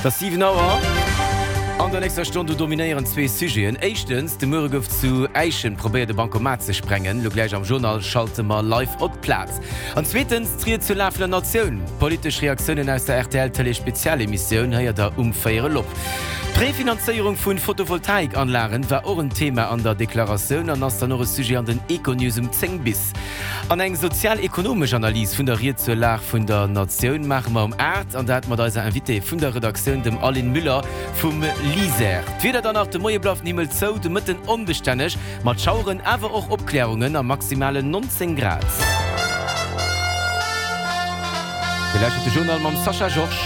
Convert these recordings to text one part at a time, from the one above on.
Et ass 7 Auer. An der nächster Stonn do dominéieren zwee Sujeten. Éischtens, de Muere gouf zu Äischen probéiert e Bancomat ze sprengen. Lo gläich am Journal schalte mer live op d'Plaz. An zweetens, d'Ried zur Laf vun der Natioun. Politesch Reaktiounen aus der rtl Tëlee Spezialemissioun héiert der um véierel op. D'Prefinanzéierung vu Photovoltaikanlagen war och en Thema an der Deklaratioun an ass dann och e Sujet an den Econews um 10 bis. An eng sozial-ekonomesch Analys vun der Ried zur Lag vun der Natioun maache mer um 8, an dat mat eiser Invitée vun der Redaktioun, dem Aline Müller vum LISER. D'Wieder dann nach, De Moie bleift den Himmel zou, de Mëtten onbestänneg mat Schaueren, awer och Opklärungen a maximalen 19 Grad. Dir lauschtert de Journal mam Sascha Georges.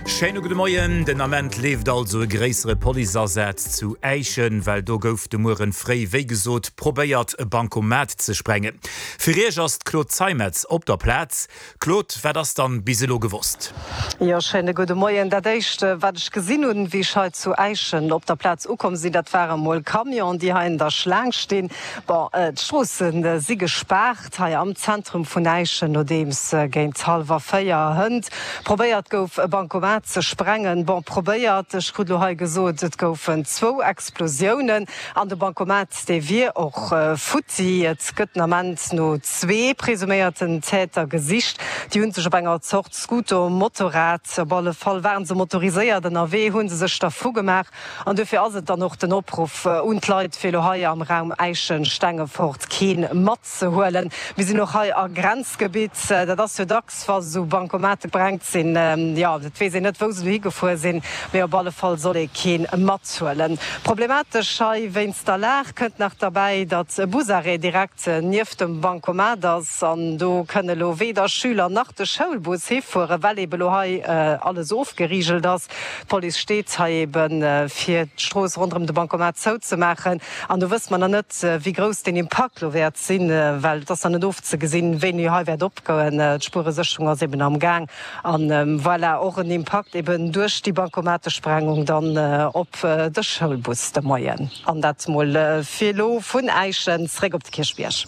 Schéine gudde Moien. Den Ament leeft also e gréissere Policeasaz zu Äischen, well do gouf de Mueren fréi, wéi gesot, probéiert e Bancomat ze sprengen. Fir Iech ass d'Claude Zeimetz op der Plaz. Claude, wat ass dann bis elo gewosst? Jo, schéine gudde Moien. Dat éischt wat ech gesinn hunn, wéi ech hei zu Äischen op der Plaz ukomm sinn, dat ware mol Camionen, déi hei an der Schlaang stinn. Bon, d'Stroosse si gespaart hei am Zentrum vun Äischen, nodeems géint hallwer 4 hënt probéiert gouf e Bancomat ze sprengen. Bon, probéiert, ech krut elo hei gesot, et goufen zwou Explosiounen an de Bancomat dee wier och futti. Et gëtt den Ament no zwee presuméierten Täter gesicht. Déi hu sech op enger Zort Scooter, Motorrad, op alle Fall ware se motoriséiert ënnerwee, hu se sech dervu gemaach. An duerfir ass et dann och den Opruff un d'Leit, fir elo hei am Raum Äischen-Stengefort kee matzehuelen. Mir sinn och hei a Grenzgebitt. Dat ass jo dacks, wa sou Bankomate brengt sinn, jo, et weess een net, wou se dohi gefuer sinn, mee op alle Fall soll ee kee mathuelen. Problematesch hei wéinst der Lag kënnt nach derbäi, datt e Busarrêt direkt nieft dem Bankomat ass an do kënne elo weder Schüler nach de Schoulbus hifueren, well eebe lo hei alles ofgerigelt ass. D'Police steet hei eben, fir d'Strooss ronderëm de Bancomat zouzemaachen. An do wësse mer nach net, wéi grouss deen Impakt elo wäert sinn, well et ass nach net ofzegesinn, wéini hei wäert opgoen. D'Spueresécherung ass eben am Gaang. An voilà, och en Impakt eben duerch déi Bancomatesprengung dann op de Schoulbus de Moien. An dat mol fir elo vun Äischen zréck op de Kierchbierg.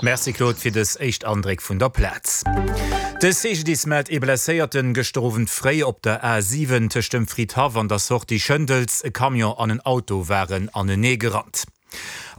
Merci Claude fir dës éischt Andréck vun der Plaz. De CGDIS mellt ee Blesséierten gëschter Owend fréi op der A 7 tëscht dem Fridhaff an der Sortie Schëndels. E Camion an en Auto waren anenee gerannt.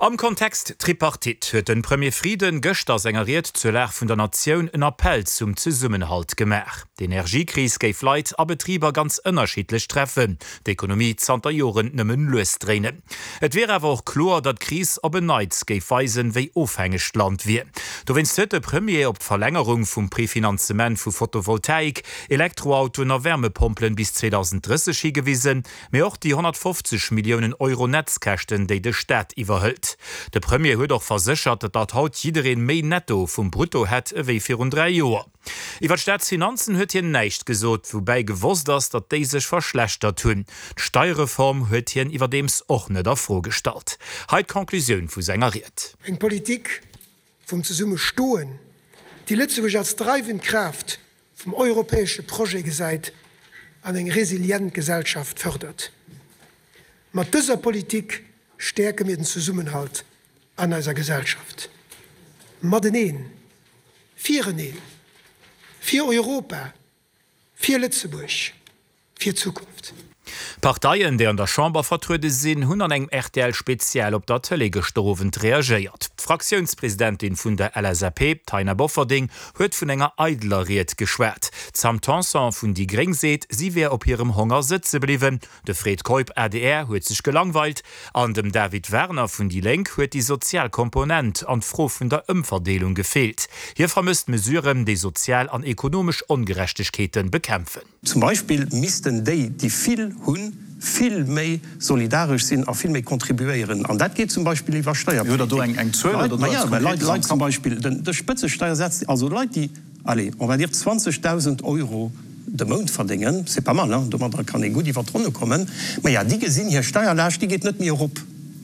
Am Kontext Tripartite huet de Premier Frieden gëschter a senger Ried zur Lag vun der Natioun en Appell zum Zesummenhalt gemaach. D'Energiekris géif Leit a Betriber ganz ënnerschiddlech treffen, d'Ekonomie zanter Joren nëmmen lues dréinen. Et wier awer och kloer, datt d'Kris op en Neits géif weisen, wéi ofhängeg d'Land wier. Dowéinst huet de Premier op d'Verlängerung vum Prefinanzement vu Photovoltaik, Elektroautoen a Wärmepompelen bis 2030 higewisen, mee och déi 150 Milliounen Euro Netzkäschten, déi de Staat iwwerhëlt. De Premier huet och verséchert, datt haut jiddereen méi Netto vum Brutto hätt ewéi virun 3 Joer. Iwwer d'Staatsfinanzen huet hien näischt gesot, woubäi gewosst ass, datt déi sech verschlechtert hunn. D'Steierreform huet hien iwwerdeems och net a Fro gestallt. Hei d'Conclusioun vu senger Ried. Eng Politik vum Zesummestoen, déi Lëtzebuerg als dreiwend Kraaft vum europäesche Projet gesäit an eng resilient Gesellschaft fërdert. Mat dëser Politik stäerke mir den Zesummenhalt an eiser Gesellschaft. Mateneen Fireneen, fir Europa, fir Lëtzebuerg, fir d'Zukunft. D'Parteien, déi an der Chamber vertruede sinn, hunn an engem RTL-Spezial op der Tëlee gëschter Owend reagéiert. D'Fraktiounspresidentin vun der LSAP, d'Taina Bofferding, huet vun enger eideler Ried geschwat. D'Sam Tanson vun déi gréng seet, si wär op hirem Honger sëtze bliwwen. De Fred Keup, adr, huet sech gelangweilt an dem David Werner vun déi Lénk huet déi sozial Komponent an d'Fro vun der Ëmverdeelung gefeelt. Hie vermësst Mesuren, déi sozial an ekonomesch Ongerechtegkeete bekämpfen. Zum Beispill missten déi, déi vill hunn, vill méi solidaresch sinn a vill méi contribuéieren. An dat geet zum Beispill iwwer Steierpolitik. Leit, Leit zum Beispill de Spëtzesteiersaz, also Leit, déi, allez, on va dire 20.000 Euro de Mount verdéngen, c'est pas mal, hein, domadder kann ee gutt iwwer d'Ronne kommen, maja, déi gesinn hir Steierlaascht, déi geet net méi erop,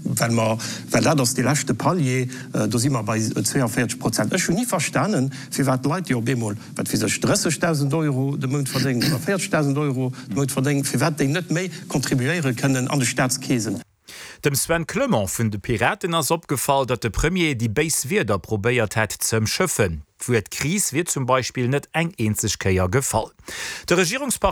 well mer, well dat ass dee leschte Palier, do si mer bei 42 Prozent. Ech hunn ni verstanen, firwat Leit, déi op eemol, wat weess ech, 30.000 Euro de Mount verdéngen oder 40.000 Euro de Mount verdéngen, firwat déi net méi contribuéiere kënnen an de Staatskeesen. Dem Sven Clement vun de Piraten ass opgefall, datt de Premier déi béis Wierder probéiert hätt ze ëmschëffen. D'Wuert Kris wier zum Beispill net eng eenzeg Kéier gefall. De Regierungsparteien.